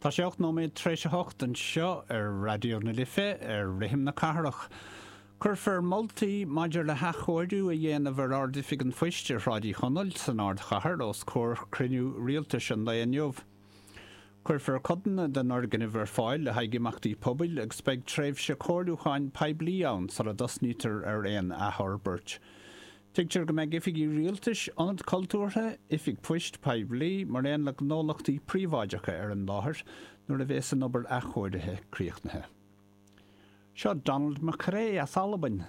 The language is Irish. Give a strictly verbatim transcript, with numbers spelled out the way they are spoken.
Tá sé ocht nóiméad tar éis a hocht anseo ar Raidió na Life ar Rithim na Cathrach. Cuirfear moltaí maidir le hathchóiriú a dhéanamh ar Ard-Oifig an Phoist ar Shráid Uí Chonaill san Ardchathair os comhair cruinniú rialtais an lae inniu. Cuirfear codanna den fhoirgneamh ar fáil le haghaidh imeachtaí pobail agus beidh tréimhse comhairliúcháin poiblí ann sula dtosnaítear ar aon athfhorbairt. Tuigtear go mbeidh oifigí rialtais, ionad cultúrtha, oifig poist poiblí, mar aon le gnólachtaí príobháideacha ar an láthair nuair a bheas an obair athchóirithe críochnaithe. Seo Donald McRae as Albain.